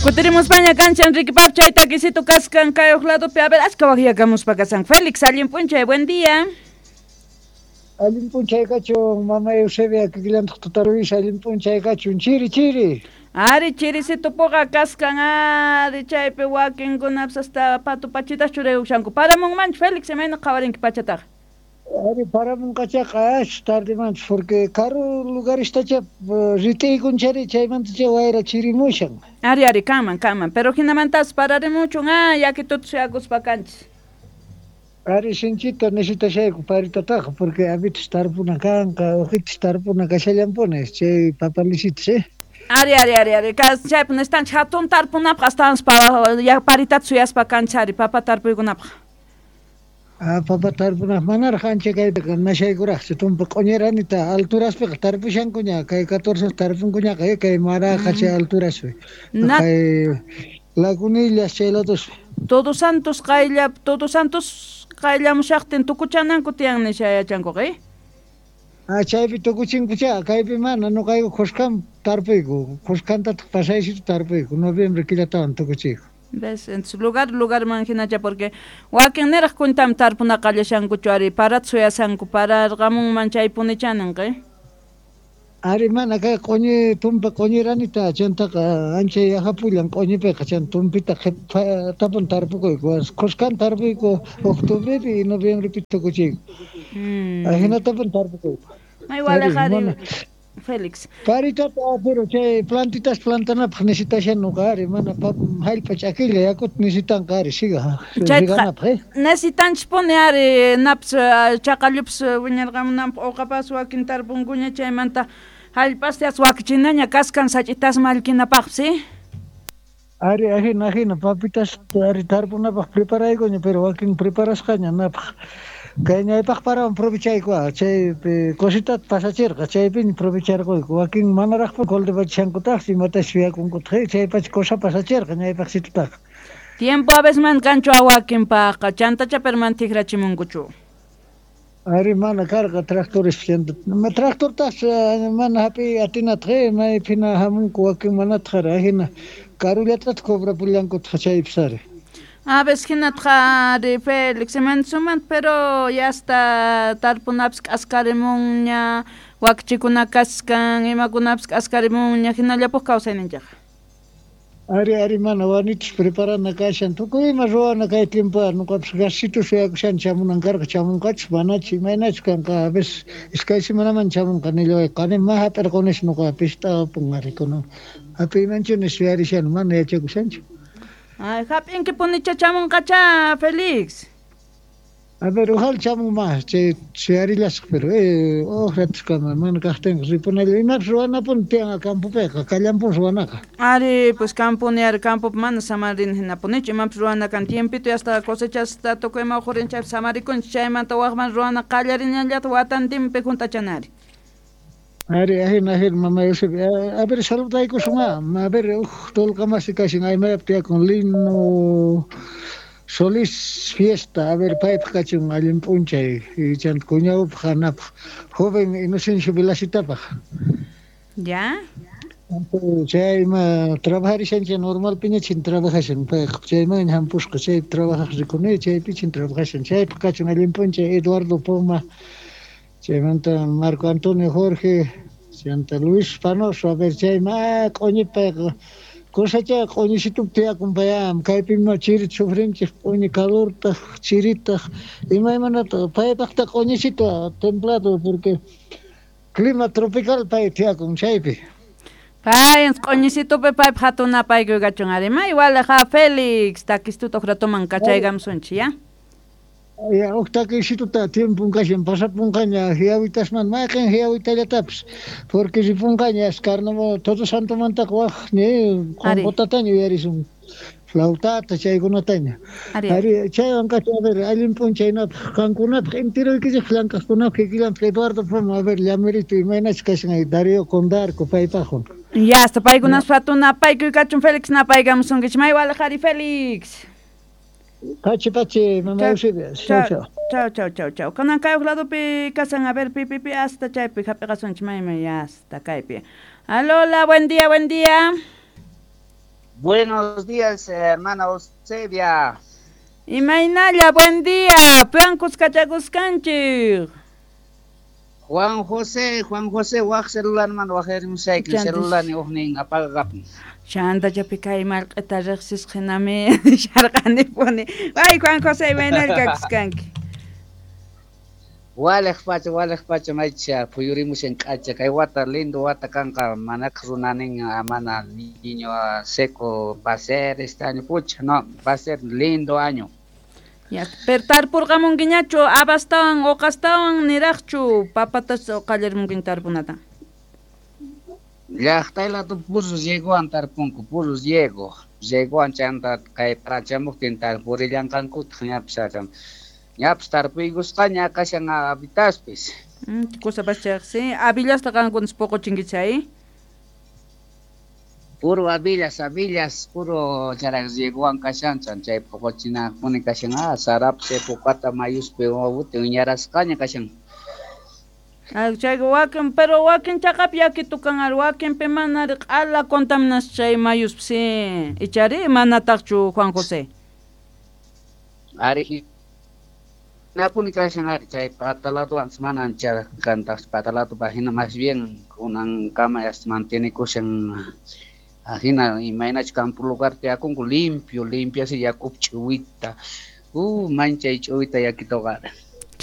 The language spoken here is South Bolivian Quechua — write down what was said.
Kutirimuspaña kancha Enrique Pap chay takisito kaskan kay uj ladopi. A ver, achka waqyakamuspa kasan. Félix, allin p'unchay, buen día. Allin p'unchay kachun, mama Eusebia, kikillantaq tata Luis, allin p'unchay kachun, chiri chiri. Ari chirisito puqa kaskan, ari chaypi wakinkunapas hasta patu pachitas churayushanku. Paramunmanchu Félix, imayna qhawarinki pachataqa? Ari paramunqachaqa ash tardemanchu, porque karu lugarestacha rit'iykunchari chaymantacha wayra chirimushan. Ari ari kanman kanman, pero hinamantas pararimuchun, ah, yakituta suyakuspa kanchis. Ari sinchita necesitashayku paritataqa, porque avitas tarpuna kanqa, uqitas tarpuna kashallanpuni, chay papalisitas, eh. Ari ari ari ari, chaypi necesitanchik hatun tarpunapaq astawan paritata suyaspa kanchis ari papa tarpuykunapaq. Ah, papa tarpunaq manaraq ancha kaypiqa nashaykuraqchu, tumpa q'uñiranita alturaspiqa tarpushankuña, kay 14 tarpunkuñaqa, kay Maraqa chay alturaspi. Kay Lagunillas chay ladospi. Todos Santos qaylla, Todos Santos qayllamushaqtin tukuchananku tiyan nisha yachankuqa, eh? Ah, chaypi tukuchinkucha, kaypi mana, nuqayku khuskan tarpuyku, khuskantataq pasaysito tarpuyku, noviembre killatawan tukuchiyku. ¿Ves? Entonces, lugar lugarman hinacha porque wakin niraq cuentam tarpuna qallashankuchu ari parata suyasanku pararqamunman chaypunicha ninqa, eh? Ari mana kay q'uñi tumpa q'uñiranita chantaqa ancha yajapullan q'uñipiqa chan tumpita qhipatapun tarpukuyku, khuskan tarpuyku octubrepi y noviembrepi tukuchiyku. Ajinatapun tarpukuyku. May walej ari Félix. Paritata, pero chay plantitas plantanapaq necesitashan nuqa ari mana jallp'a ch'akilla yakuta necesitanqa ari siga siganapaq, eh. Necesitanchispuni ari napas chaqallupas wiñarqamunanpaq uqapas wakin tarpunkuña chaymanta jallp'astas wakichinaña kaskan sach'itas mallkinapaqpis, eh. Ari ajina ajina papitas ari tarpunapaq preparaykuña, pero wakin preparasqaña napaq. Kay ñaypaq parawan aprovechayku, chaypi cositata pasachirqa, chaypiña aprovecharquyku. Wakin manaraqpuni cultivachishankutaqchu imatachus suyakunkutaq, chaypacha cosa pasachirqa ñaypaqsitutaqa. Tiempo a veces man kanchu wakinpaqqa, chantacha pero man tikrachimunkuchu. Ari mana karqa tractores chanta, tractortas mana hapiy atinataq, maypina hamunku wakin manataq ajina karullatataq cobrapullankutaq chaypis ari. A veces hinataq ari Félix suman pero ya hasta tarpunapis k'askarimunña, wakichikuna kaskan, imakunapis k'askarimunña, hinallapuq kawsayninchikqa. Ari ari mana wanitus preparana kashan, tukuy ima ruwana kay tiempo nuqapis gasito suyakushan chamunan karqa, chamunqachus manachu imaynachu kanqa, a veces iskay semanaman chamunqa nillaway, qani ma hap'irqunis nuqa pist'apun ari kunan hap'iymanchu suyarishani mana yachakushanchu. Ay, hap'inkipunicha chamunqacha Félix. A ver, ojalá chamun más, chay suyarillasaq, pero uj ratuskama mana kaqtinqa ripunalla, imapis ruwanapuni tiyan campopiqa, kallampuni ruwanaqa. Ari, pues camponi ari campopi mana samarina hinapunichu, imapis ruwana kan tiempito hasta cosechasta tukuy ima uqhurin chaypi samarikunchik, chaymanta waqman ruwana qallarinañallata watantinpi junt'achana ari. Ari, ajina, ajina, mama Eusebia. A ver, saludaykusun, a ver, uj tulqamasi kashan aymayap tiyakun Lino Solís Fiesta, a ver, paypaq kachun allin p'unchay, chanta cuñawpaq hanapaq, joven Inocencio Velasitapaq. Ya. Chay ima trabajarishanchik normalpiñachin trabajashan payqa, chaymanña hampusqa, chaypi trabajaq rikuni, chaypichin trabajashan, chaypaq kachun allin p'unchay Eduardo Poma, chaymanta Marco Antonio Jorge, chanta Luis Panoso, a ver, chay ma q'uñi payqa, cosecha q'uñisitupi tiyakun payam, kaypi chirita sufrinchik, q'uñi calortaq, chiritaq, imaymanata, paypaqta q'uñisito templado, porque clima tropical pay tiyakun chaypi. Pay, q'uñisitupi paypaq hatun napaykuy kachun ari, may walaja Félix, takistuta uj ratoman kachaykamusunchik, ya? Ya, uj takisituta tiempon kashan pasapunqaña hiawitasman, mayqin hiawitallatapis, porque ripunqaña carnaval Todo Santomantaqa waj ni qonqotataña uyarisun, flautata chaykunataña. Ari chaywan kachun, a ver, allin p'unchaynapaq qankunapaq enteroykichik llank'aqkunapaq kikillantaq Eduardo Poma, a ver, llamerito imaynachu kashan Darío Condarco paypaqwan. Ya, hasta paykunas hatun napaykuy kachun Félix napaykamusunkichik, may walej ari Félix. Pachi, pachi, mama Eusebia. Chau, chau. Chau, chau, chau, chau. Kanan kay uj ladopi kasan, a ver, pi, pi, pi, hasta chaypi hap'iqasunchik, may, may, hasta kaypi. Aló, hola, buen día, buen día. Buenos días, hermana Eusebia. Imaynalla, buen día. Piwan kuskachakuskanchik. Juan José, Juan José, waj celularman wajarimusayki, celularni ujnin apagapun. Chanta chapi kay marq'ita riqsisqa hinami sharqanipuni. Ay, Juan José, imaynalla kakuskanki. Waliq pacha maycha phuyurimushan k'acha kay wata lindo wata kanqa manaqa runanin mana niño seco va a ser este año, pucha, no, va a ser lindo año. Ya, pero tarpurqamunkiñachu habastawan uqastawan niraqchu papatas qallarimunkiña tarpunata. Llaqtaylatu purus yegowan tarpunku, purus yego, yegowan chanta kay parachamuqtin tarpurillanqankutaq ñapis ñapis tarpuykusqaña kashan habitaspis. Kusapas chayqa, habillasta qankunas puquchinkichik chay. Puro habillas, habillas, puro charak yegowan kashan chay puquchinapuni kashan, sarapis chay puqata mayuspi wawuti wiñarasqaña kashan. Chayqa wakin, pero wakin chaqapi yakitu kan ari, wakinpi mana ari q'ala contaminasqa chay mayuspi sí, ichari manataqchu Juan José. Ari hinapuni kashan ari chay pataladuwan mana ancha kantaq patalatu hina más bien kunankama mantienikushan hina imaynachu campo lugar tiyakunku limpio, limpio así yakup ch'uwita, manchay ch'uwita yakituqa.